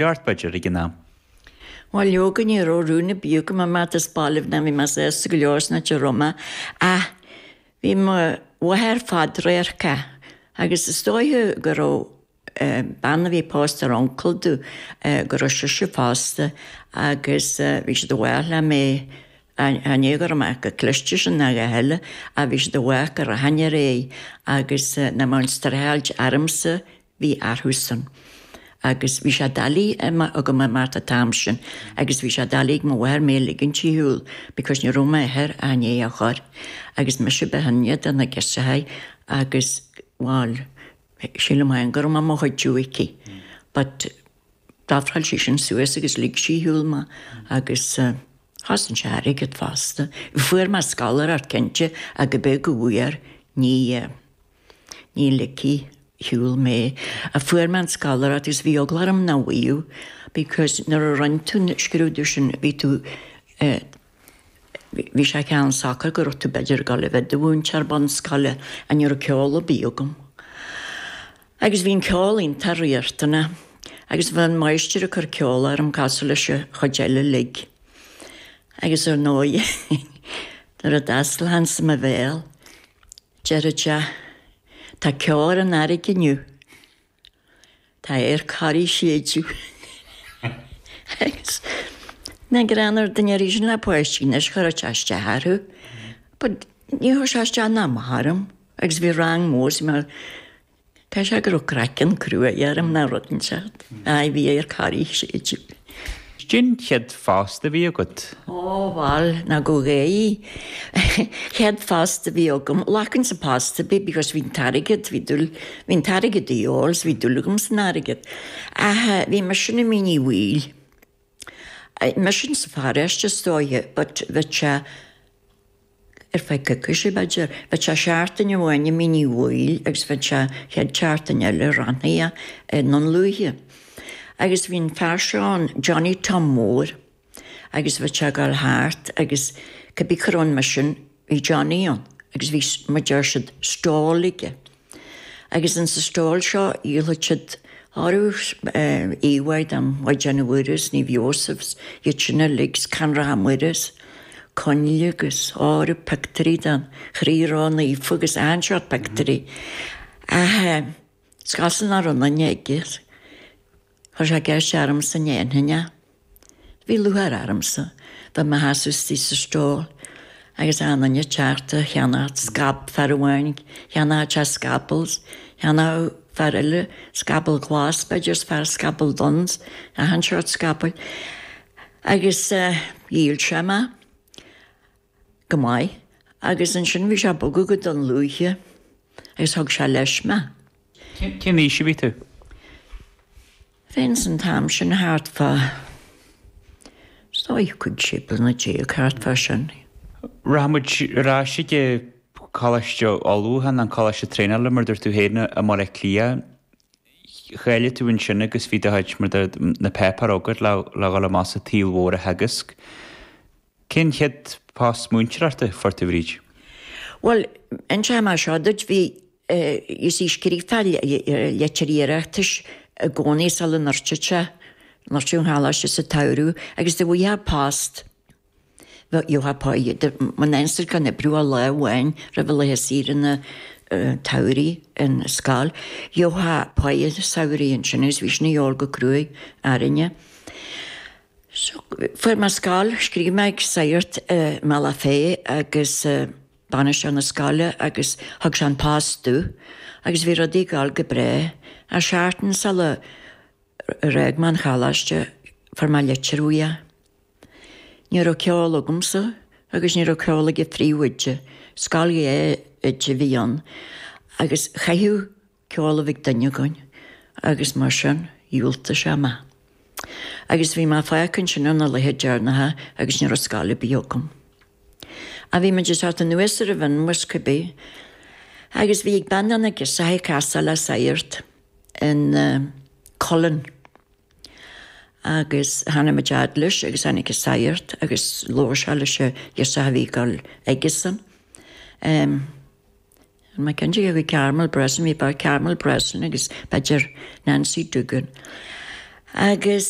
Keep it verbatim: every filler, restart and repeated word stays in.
ort b'fhéidir ag an am? Bhuel leoga ní raibh rún ar bith agam imeacht as baile ná bhí mé sásta go leor san áit a raibh mé ach bhí mo mháthair fadradharcach agus is dóiche go raibh bean a bhí pósta ar uncail domh go raibh sise fosta agus bhí siad i bhfách le mé chan é go raibh mé chomh cliste sin ná a dhath eile ach bhí siad i bhfách go rachainn ar aghaidh agus nach mbeadh an streachailt ormsa bhí orthusan. Agus bhí sé doiligh agam imeacht an t-am sin agus bhí sé doiligh ag mo mháthair mé a ligint ar shiúl because ní raibh m'athair ach i ndiaidh a chur agus mise ba shine de na girseachaí agus bhuel sílim féin go raibh mé mo chuidiú aici but d'ofráil sí sin suas agus lig sí ar shiúl mé agus chosain sé airgead fosta. Fuair mé scoláireacht cinnte ach go beag go bhfuair ní ní ligfí ar shiúl mé. Fuair mé an scoláireacht agus bhí eagla orm nach bhfaigheadh because nuair a rinne tú an scrúdú sin bhí tú bhí sé ceann socair go raibh tú b'fhéidir ag dul a bheith i do mhúinteoir bunscoile ach ní raibh ceol ar bith agam. Agus bhí an ceol iontach riachtanach agus bhí an máistir ag cur ceol orm cosúil leis an chuid eile uilig. Agus ar ndóigh nuair a d'oscail Hans mo bhéal, deireadh sé Tá ceo ar an fharraige inniu. Tá aer corraí ag séideadh. Agus nach greannmhar duine arís le páistí anois chuirfeadh sé isteach orthu. But ní chuir sé isteach ná amach orm agus bhí rang mór is mé Caithfidh sé go raibh craiceann cruaidh orm ná rud inteacht. Aye, bhí aer corraí ag séideadh. Cén chéad phost a bhí agat? Ó bhuel, ná go ghaoth. Chéad phost a bhí agam, ghlacfainn sa post ar bith because bhí an t-airgead, bhí dúil, bhí an t-airgead de dhíobháil is bhí dúil agam san airgead. Ach bhí mise i Mín Uí Bhaoill. Mise sa pharóiste is dóiche but bheadh sé ar feadh coicíse b'fhéidir. Bheadh sé seachtain amháin i Mín Uí Bhaoill agus bheadh sé chéad seachtain eile rannaithe i nDún Lúiche. Agus bhí an fear seo ann, Johnny Tom Mór, agus bheadh sé ag dul thart agus cibé cá raibh an misean, bhí Johnny ann agus bhí, mar deir siad, stall aige. Agus in sa stall seo dhíolfadh siad orthu íomhá den Mhaighdean Mhuire is Naomh Iósaf 's iad sin uilig 's Canracha Muire 's coinnle agus áireamh pictiúirí den Chroí Ró-Naofa agus achan seort pictiúirí. Ach is cosúil nach raibh aon duine aige. Chuir sé ceist ormsa an ndéanfainn é. Bhí lúcháir ormsa bheith mo sheasamh istigh sa stall agus achan duine ag teacht a cheannacht scab fear amháin cheannódh sé scaball cheannódh fear eile scaball glas b'fhéidir is fear scaball donn achan seort scabaill. Agus dhíol sé mé go maith agus ansin bhí sé ag bogadh go Dún Lúiche agus thug sé leis mé. Cén aois a bhí tú? Bheinn san t-am sin thart fá is dóigh cúig sé bliana déag thart fá sin. Rachaidh muid ar ais ag Coláiste Ullmhúcháin, an Coláiste Traenála mar dúirt tú féin i mBaile Átha Cliath. Cháiligh tú ansin agus bhí do chuid mar na páipéir agat le le dhul amach sa tsaol mhór a theagasc. Cén chéad post múinteoireachta a fuair tú a Bhríd? Bhuel, inseoidh mé seo duit, bhí you see scríobhfá litir iarratais i gcónaí sula ndruidfeadh sé, ndruidfeadh an choláiste sa tsamhradh agus dá bhfaighfeá post, gheofá páighe, muna ansa gan oibriú ach lá amháin roimh laetha saoire na tsamhraidh in scoil, gheofá páighe samhraidh ansin agus bhí sin a dhíobháil go cruaidh orainne. So fuair mé scoil, scríobh mé ag sagart i mBealach Féich agus bainisteoir na scoile agus thug sé an post domh agus bhí rudaí ag dul go breá. Ach seachtain sula ar fhág mé an choláiste fuair mé litir uaidh. Ní raibh ceol agamsa agus ní raibh ceol ag an phríomhoide. Scoil dhá oide a bhí ann agus chaithfeadh ceol a bheith ag duine againn agus mar sin dhiúltaigh sé mé. Agus bhí mé fágtha ansin ar na laetha deireanacha agus ní raibh scoil ar bith agam. Ach bhí muid ag teacht anuas ar an bhFionnmhuis cibé agus bhí ag bean de na girseachaí casadh le sagart in Cullen agus tháinig muid fhad leis agus tháinig an sagart agus labhair sé leis an ghirseach a bhí ag dul aigesan. Níl mé cinnte cé acu Carmel Breslin, bhí b'fhearr Carmel Breslin agus b'fhéidir Nancy Duggan. Agus